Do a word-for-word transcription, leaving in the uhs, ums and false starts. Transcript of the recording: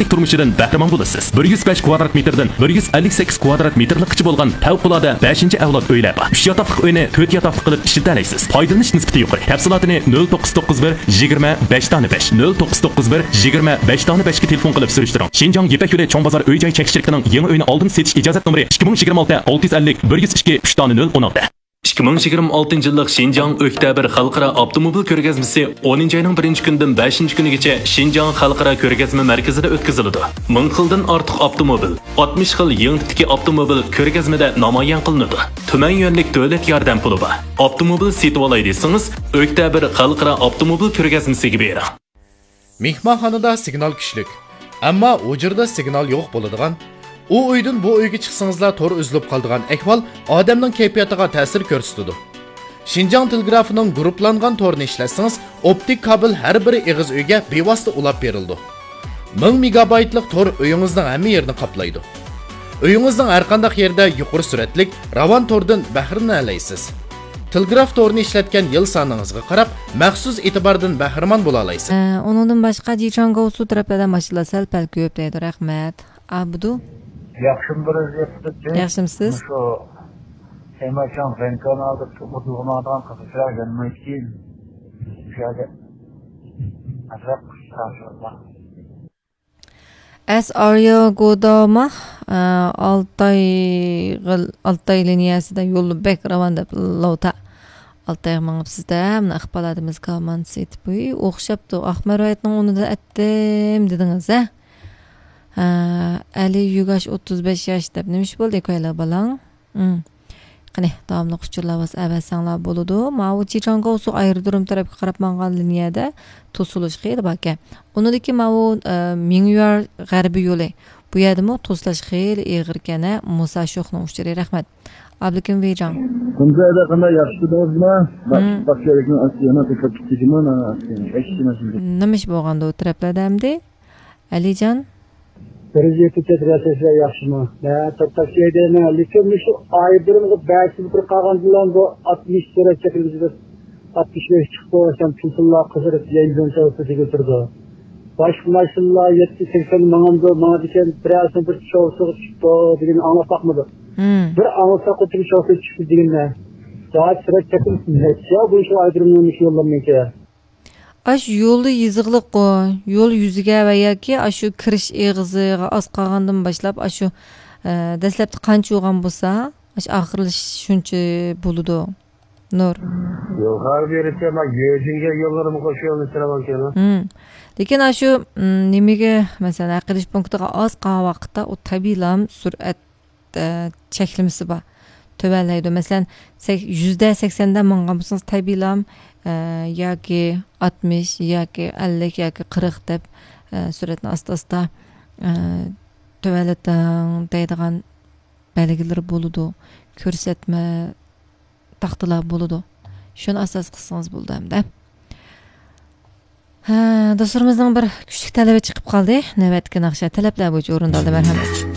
تۇرمۇشىدىن بەھرىمەن بولىسىز. بىر يۈز بەش كۋادرات مېتىردىن بىر يۈز ئەللىك سەككىز كۋادرات مېتىرلىققىچە بولغان پەۋقۇلئاددە بەشىنچى ئەۋلاد ئۆيلەر بار. ئۈچ ياتاقلىق ئۆينى تۆت ياتاقلىق قىلىپ ئىشلىتەلەيسىز. پايدىلىنىش نىسبىتى يۇقىرى. تەپسىلاتىنى نۆل توققۇز توققۇز بىر يىگىرمە بەش دانە بەش، نۆل توققۇز توققۇز بىر يىگىرمە بەش دانە بەشكە تېلېفون قىلىپ سۈرۈشتۈرۈڭ. شىنجاڭ يىپەك يولى چوڭ بازار ئۆي جاي چەكلىك شىركىتىنىڭ يېڭى ئۆينى ئالدىن سېتىش ئىجازەت نومۇرى ئىككى مىڭ يىگىرمە ئالتە ئالتە يۈز ئەللىك بىر يۈز ئىككى ئۈچ دانە نۆل ئون ئالتە. ئىككى مىڭ يىگىرمە ئالتىنچى يىللىق شىنجاڭ ئۆكتەبىر خەلقئارا ئاپتوموبىل كۆرگەزمىسى ئونىنچى ئاينىڭ بىرىنچى كۈنىدىن بەشىنچى كۈنىگىچە شىنجاڭ خەلقئارا كۆرگەزمە مەركىزىدە ئۆتكۈزۈلىدۇ. مىڭ خىلدىن ئارتۇق ئاپتوموبىل، ئاتمىش خىل يېڭى تىپتىكى ئاپتوموبىل كۆرگەزمىدە نامايان قىلىنىدۇ. تۈمەن يۈەنلىك دۆلەت ياردەم پۇلى بار. ئاپتوموبىل سېتىۋالاي دېسىڭىز، ئۆكتەبىر خەلقئارا ئاپتوموبىل كۆرگەزمىسىگە بېرىڭ. مېھمانخانىدا سىگنال كۈچلۈك، ئەمما ھۇجرىدا سىگنال يوق بولىدىغان، ئۇ ئۆيدىن بۇ ئۆيگە چىقسىڭىزلا تور ئۈزۈلۈپ قالىدىغان ئەھۋال ئادەمنىڭ كەيپىياتىغا تەسىر كۆرسىتىدۇ. شىنجاڭ تېلېگرافىنىڭ گۇرۇپپىلانغان تورىنى ئىشلەتسىڭىز، ئوپتىك كابېل ھەر بىر ئېغىز ئۆيگە بىۋاسىتە ئۇلاپ بېرىلىدۇ. مىڭ مېگابايتلىق تور ئۆيىڭىزنىڭ ھەممە يېرىنى قاپلايدۇ. ئۆيىڭىزنىڭ ھەرقانداق يېرىدە يۇقىرى سۈرئەتلىك راۋان توردىن بەھرىلىنەلەيسىز. تېلېگراف تورىنى ئىشلەتكەن يىل سانىڭىزغا قاراپ، مەخسۇس ئېتىباردىن بەھرىمەن بولالايسىز. ئە، ئۇنىڭدىن باشقا، جىچاڭگوسۇ تەرەپلەردە ماشىنىلار سەل پەل كۆپ دەيدۇ. رەھمەت. ئابدۇ. ياخشىمۇ بىر ۋەزىيەتتە؟ ياخشىمسىز؟ مۇشۇ تېماشاڭ زەنكانالدا ئۇدۇلغىنىدىغان قىزىقچىلار گەلمەيدىكىن. شۇ يەردە ئازراق قىسقا. ئەس ئاريا گوداما، ئە، ئالتاي، ئالتاي لىنىيەسىدە يول بەك راۋان دەپ، لوتا. ئالتايغا مېڭىپسىز-دە، مانا ئىقبال ئادىمىز كالمان سېتىپ، ئوخشاپتۇ. ئاق مەرۋايىتنىڭ ئۇنىدا ئەتتىم دېدىڭىز، ھە؟ ھە، ئەلى يۈگاش ئوتتۇز بەش ياش دەپ، نېمە ئىش بولدى، كويلا بالاڭ؟ ھىم. قېنى، داۋاملىق ئۇچۇرلار بولسا ئەۋەتسەڭلار بولىدۇ. ماۋۇ جىچاڭگاۋسۇ ئايرودروم تەرەپكە قاراپ ماڭغان لىنىيەدە توسۇلۇش خېلى باركەن. ئۇنىڭدىكى ماۋۇ، ئە، مىڭيۈەر غەربىي يولى. بۇ يەردىمۇ توسۇلۇش خېلى ئېغىركەن، ھە، مۇسا شوخنىڭ ئۇچۇرى. رەھمەت. ئابلىكىم ۋېيجاڭ. كۈندە قانداق، ياخشىمۇ؟ ھىم. باشقا يەرگە ئاشۇ توسۇلۇپ كېتىدىمۇ؟ نېمە ئىش بولغاندۇ ئۇ تەرەپلەردە ئەمدى؟ ئەلىجان. بىر يېتى چەترەسەسلەر ياخشىمۇ؟ مەن توختاپ كەيدىمەن، لېكىن مۇشۇ ئايرودرومغا بەشىنچى بىر قالغاندىلا بۇ ئاتمىش سۈرئەت چەكلىمىسىدە ئاتمىش بەش چىقىپ، سەن تېلېفونلار قىزىرىپ، يەنجۈن سەۋەبى دېگىلى تۇرىدۇ. باشقا ماشىنىلار يەتمىش سەكسەن ماڭامدۇ، ماڭىدىكەن، بىرەرسىنىڭ بىر شوفېرى چۈشۈپتۇ دېگەننى ئاڭلاپ باقمىدۇق. ھىم. بىر ئاڭلىساق، خوتۇن شوفېرى چۈشۈپتۇ دېگەننى. سائەت سۈرئەت چەكلىمىسى نەچچە بۇ شۇ ئايرودرومنىڭ مۇشۇ يوللىرىنىڭكى؟ ئاشۇ يولى يېزىقلىققۇ، يول يۈزىگە ۋە ياكى ئاشۇ كىرىش ئېغىزىغا ئاز قالغاندىن باشلاپ، ئاشۇ، ئە، دەسلەپتە قانچە بولغان بولسا، ئاشۇ ئاخىرلىشىش شۇنچە بولىدۇ. نۇر. يوق، ھەر بىرىسى ما يۆجىنگە يوللىرىمۇ قوشۇپ يولنى سىلەۋالغان. ھىم. لېكىن ئاشۇ، ئىم، نېمىگە، مەسىلەن، ھەق ئېلىش پونكىتىغا ئاز قالغان ۋاقىتتا ئۇ تەبىئىيلا سۈرئەت ئە، چەكلىمىسى بار. تۆۋەنلەيدۇ. مەسىلەن، سەك-، يۈزدە سەكسەندە ماڭغان بولسىڭىز، تەبىئىيلا، ئە، ياكى ئاتمىش، ياكى ئەللىك، ياكى قىرىق دەپ، ئە، سۈرئەتنى ئاستا-ئاستا، ئە، تۆۋەنلىتىڭ دەيدىغان بەلگىلىرى بولىدۇ. كۆرسەتمە تاختىلار بولىدۇ. شۇنى ئاساس قىلسىڭىز بولىدۇ ئەمدى. ھە، دوستلىرىمىزنىڭ بىر كۈچلۈك تەلىپى چىقىپ قالدى. نۆۋەتتىكى ناخشا تەلەپلەر بويىچە ئورۇندالدى، مەرھەمەت.